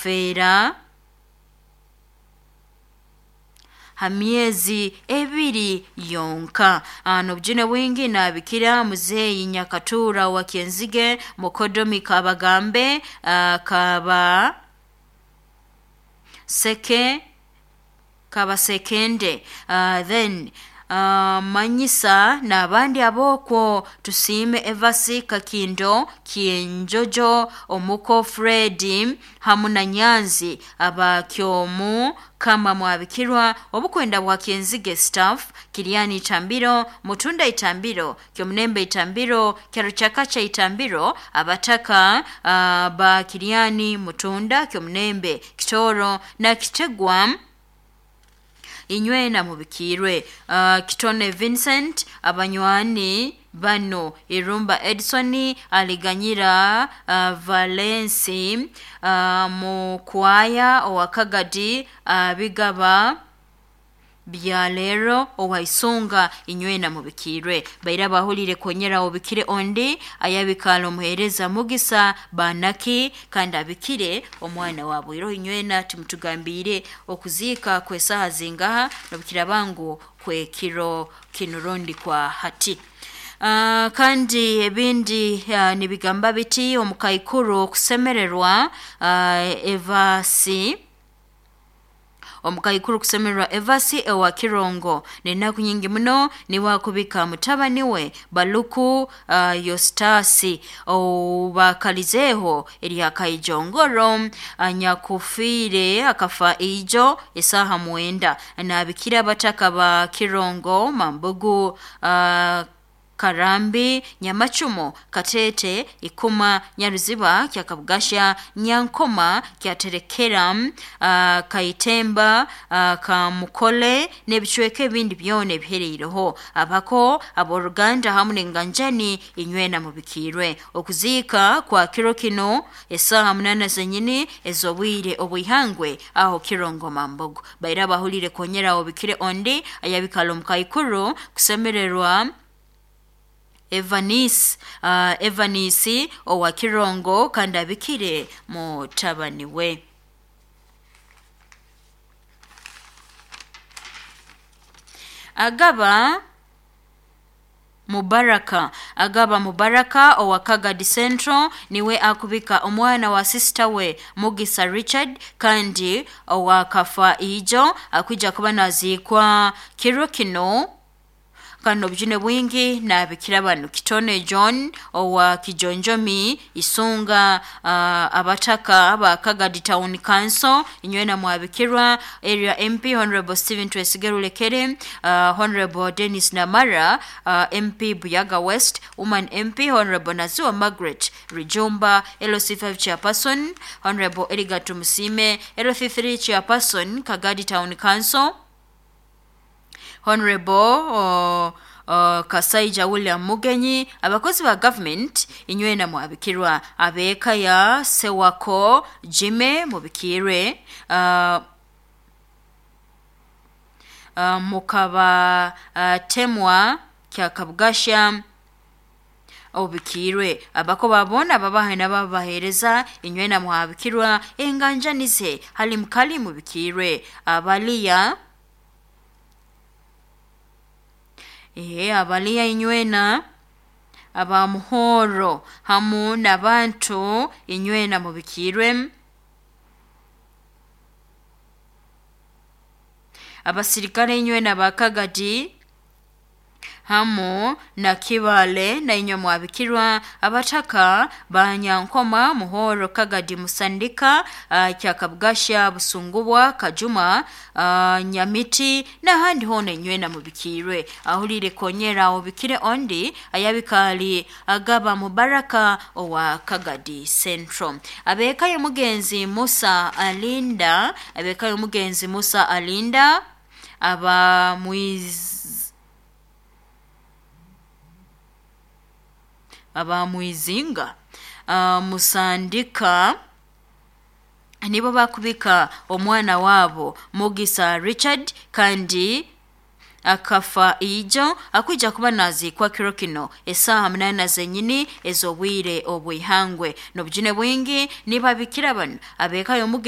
Akafeera ha myezi 2 yonka. N'obujune bwingi nabikira muzeeyi Nyakatura wa Kyenzige, mukodomi Kabagambe, Kaba Seke, Kabasekende, then manyisa n'abandi ab'okwo. Tusiime Evasi Kakindo Kyenjojo, omuko Fredi hamu na Nyanzi abakyomu kama mwabikirwa. Obukwenda bwa Kyenzige staff, Kiriani Itambiro, Mutunda Itambiro, Kyomunembe Itambiro, Kyaruchakacha Itambiro, abataka ba Kiriani, Mutunda, Kyomunembe, Kitoro na Kitegwa, inywena mubikirwe. Kitone Vincent, abanywani bano Irumba Edson, Aliganyira Valensi, Mukwaya owakagadi, Bigaba byalero owaisunga, inywena mubikirwe. Baira bahulire konyera obikire ondi ayabikala omuhereza Mugisa Banaki, kandi abikire omwana wabwiro. Inywena timutugambire okuziika kwesaha zingaha nobukira bangu kwekiro kinurundi kwa hati. Kandi ebindi nibigamba biti omukaikuru okusemererwa Evasi, omukaikuru kusemererwa Evasi ewa Kirongo nenaku nyingi muno niwakubika mutabani we Baluku Yostasi obakalizeho eryakaijongoro anyakufiire akafa ijo esaha 9. Nabikira abataka ba Kirongo, Mambugu, Karambi, Nyamachumo, Katete, Ikuma, Nyaruziba, Kyakabugasha, Nyankoma, Kyaterekera, Kaitemba, Kamukole n'ebicweka ebindi byona ebihereireho. Abako ab'oruganda hamu n'enganjani, inywena mubikirwe. Okuziika kwa kiro kino esaha 8 zenyini ez'obwire obwihangwe aho Kirongo Mambogo. Baira bahulire konyera obikire ondi ayabikala omukaikuru kusemererwa Evanisi, Evanisi owa Kirongo, kandi abikire mutabani we. Agaba Mubaraka, Agaba Mubaraka owa Kagadi Central niwe akubika omwana wa sister we Mugisa Richard, kandi owakafa ijo akwija kuba naziikwa kiro kino. Kandi obujune bwingi nabikira bano Kitone John owa Kijonjomi Isunga, abataka ba Kagadi Town Council, inywena mwabikirwa. Area MP Honorable Stephen Twesige Rulekere, Honorable Dennis Namara, MP Buyaga West, Woman MP Honorable Nazua Margaret Rijumba, LC5 Chairperson Honorable Edgar Tumusime, LC3 Chairperson Kagadi Town Council Honorable Kasaija William Mugenyi, abakozi ba government inywena mwabikirwa. Abeka ya Sewako Jime mubikirwe. Mukaba Temwa Kyakabugasha obikirwe. Abako babona babahe n'ababahereza inywena mwabikirwa. Enganjanize hali mukali mubikirwe. Abaliya abaliya inywena abamuhoro hamu n'abantu inywena mubikirwe. Abasirikale inywena bakagadi hamu na Kibale na inywe mwabikirwa. Abataka Banyankoma, Muhoro, Kagadi, Musandika, Kyakabugasha, Busungubwa, Kajuma, Nyamiti n'ahandi hona inywena mubikirwe. Ahulire konyera obikire ondi ayabikali Agaba Mubaraka owa Kagadi Central. Abekayo mugenzi Musa Alinda, abekayo mugenzi Musa Alinda aba abamwizinga Musandika nibo bakubika omwana wabo Mugisa Richard, kandi akafa ijo akwija kuba naziikwa kiro kino esaha 8 zenyini ez'obwire obwihangwe. N'obujune bwingi nibabikira bano abekayo mugenzi